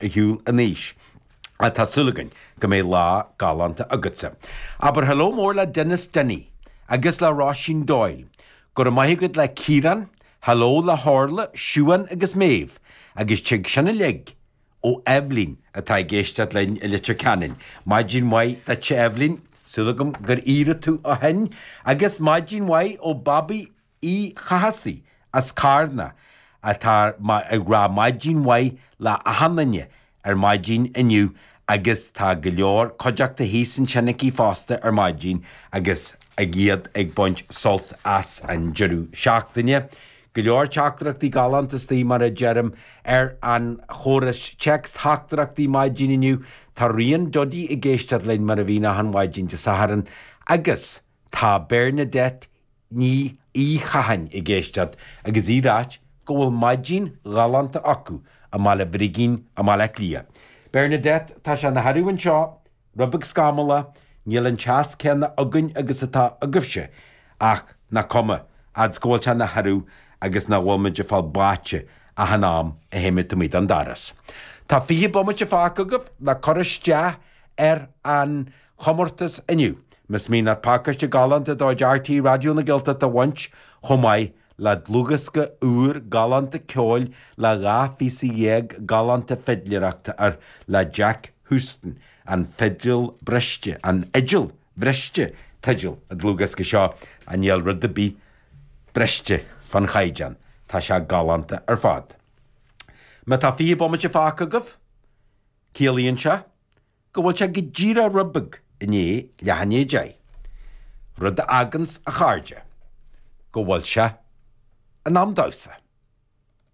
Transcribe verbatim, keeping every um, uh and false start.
ar shiúl anois. Tá súil againn go mbeidh lá galánta agatsa. Abair hello mór le Denis Denny agus le Róisín Doyle. Go raibh maith agat le Ciarán, hello le hOrla, Siuan agus Méabh, agus tig sin uilig ó Eibhlín atá ag éisteacht linn i Leitir Ceanainn. Maidin mhaith duit Eibhlín, súil agam gur éirigh tú ó shin, agus maidin mhaith ó Babaí Uí Chathasaigh as Carna atá ag rá maidin mhaith le achan duine ar maidin inniu agus tá go leor cuideachta thíos ansin aici fosta ar maidin agus ag iad ag baint sult as an deireadh seachtaine. Go leor teachtaireachtaí galánta istigh mar a deirim ar an chóras téacs-theachtaireachtaí maidin inniu, tá Rian Duddy ag éisteacht linn mar a bhíonn achan mhaidin Dé Sathairn agus tá Bernadette Ní Uí Chatháin ag éisteacht agus í ag ráit go bhfuil maidin ghalánta acu i mBaile Brigín i mBaile Átha Cliath. Bernadette, tá sé ina shearradh anseo, rud beag scamallach, níl an teas céanna againn agus atá agaibhse, ach nach cuma, fhad 's go bhfuil sé ina shearradh agus nach bhfuil muid ag fáil báite achan am a théimid amuigh den doras. Tá fiche bomaite fágtha agaibh le cur isteach ar an chomórtas inniu. Más mian leat pacáiste galánta de chuid RTÉ Raidió na Gaeltachta a bhaint chomh maith le dlúthdhiosca úr galánta ceoil le dhá phíosa dhéag galánta fidléireachta air le Jack Houston, An Fidil Briste, An Fhidil Bhriste teideal an dlúthdhiosca seo, a níl rud ar bith briste fan chaighdeán, tá sé galánta ar fad. Má tá fiche bomaite fágtha agaibh, ciallaíonn sé go bhfuil sé go díreach rud beag i ndiaidh leath i ndiaidh a deich. Rud a fháganns, a chairde, go bhfuil sé in am damhsa.